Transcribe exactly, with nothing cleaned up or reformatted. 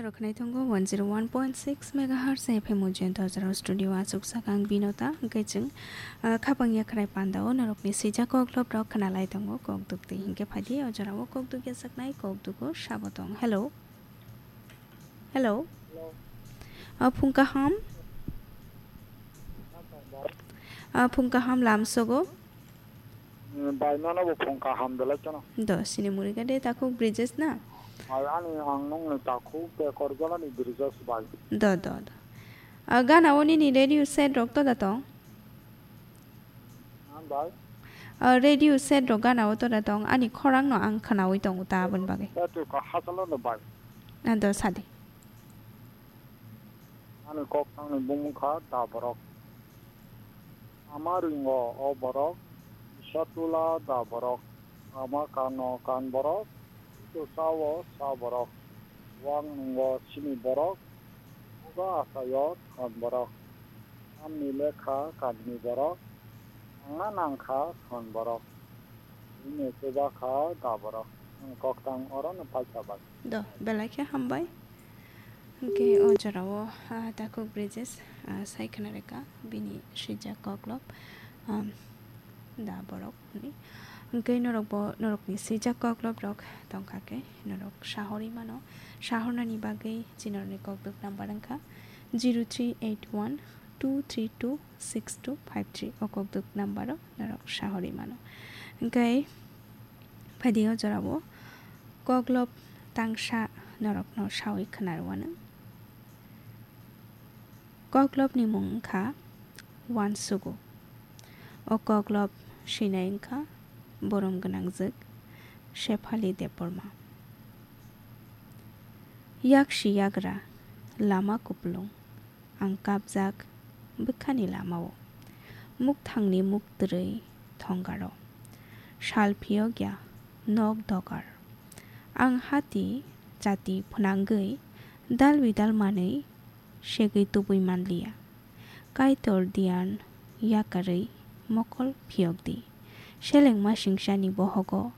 Rok khwnai tongo one zero one point six megahertz F M o Jayanta Ojara studio, achuk sakang Binota, hwnkhe chwng, ah, khapang yakrai pandao norokni swijak koklop rok khwnalai tongo kokduk twi, hwnkhe phaidi o jorao kokduk yachaknai kokdugo sabo tong. Hello. Hello. Hello. Ah, phung kaham. Ah, phung kaham lamsogo. Bai, nono bo phung kaham belai kheno. Do, sini muri gade takhuk Brijesh na? Bai, ani ang nungni takhuk Bekorjolani Brijesh bai. Do, do, do. Ah, gana o nini radio set rok to da tong? Ha, bai? Ah, radio set rok gana o to da tong? Ani khorang no ang khwnaui tongo ta aboni bagwi. Etu ka hachalo no bai. Ah, do, sadi. Ani koktangni bumung kha da borok. Ama ringo o borok, kisa tula da borok. Ama kano kan borok, kisa sao sa borok. Wang nungo sini borok, buga asayo thon borok. Tamni lekha kanni borok, nangna nangkha thon borok. Bini chuba kha da borok. Ang koktang oro no paikha bai. Do, belai khe hambai. Hwnkhe o jorao, ah, takhuk Brijesh, ah, sai khna reka bini swijak koklop, ah, da borok hwnwi. Hwnkhe norok bo, norokni swijak koklop rok tongkha khe norok sahorwi mano. Sahornani bagwi chinorni kokduk number wngkha zero three eight one two three two six two five three. O kokduk number o norok sahorwi mano. Hwnkhe phaidi o jorao koklop tangsa norokno sawi khwnarwano. Koklopni mung wngkha Wansugo. O koklop swinai wngkha borom gwnangjwk Shephali Debbarma. Yaksi yagra lama kupulung. Ang kapjak bwkhani lamao. Mukthangni muktwrwi thongaro. Sal phiyokya nok dogar. Ang hati chati phwnangwi dal bidal manwi segwi tubui manliya. Kaitor diyan yakarwi mokol phiyokdi. Selengma singsani bohogo